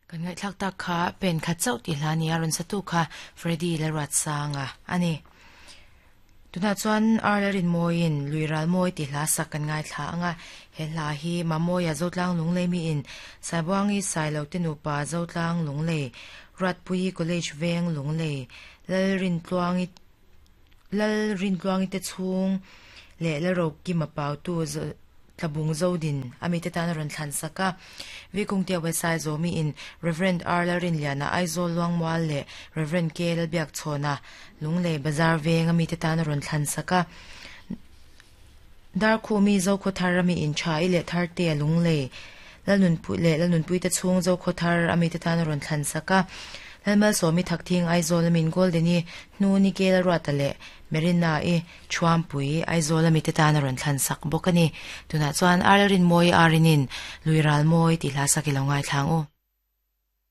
Kan ngaihthlak tak kha pen khat chauh tih hla a ni a, rawn satu kha Freddy Lalruatsanga a ni. Tunah chuan Ar Lalrinmawiin Lui Ralmawi tih hla sak kan ngaithla ang a, he hla hi Mamawia Zotlang Lunglei miin Saibuangi Sailote nupa Zotlang Lunglei, Ruatpuii College Veng Lunglei, Lalrintluangi Lalrintluangi te chhung leh Lalrokima Pautu Tlabung Zodin a mite tan a rawn thlan sak a. Vikungtea Wesai Zawmiin Rev. R. Lalrinliana Aizawl Luangmual leh Rev. K. Lalbiakchhawna Lunglei Bazar Veng a mite tan a rawn thlan sak a. Darkhumi Zokhawthar a miin Tha i leh Thartea Lunglei Lalnunpui leh Lalnunpui te chhung Zokhawthar a mite tan a rawn thlan sak a. Lalmalsawmi Thakthing Aizawl a min Goldeni Hnuni Kelaruata leh Merina i Thuampui Aizawl a mite tan a rawn thlan sak bawk a ni. Tunah chuan Arlalrinmawi Arinin Lui Ralmawi tih hla sak i lo ngaithla ang u.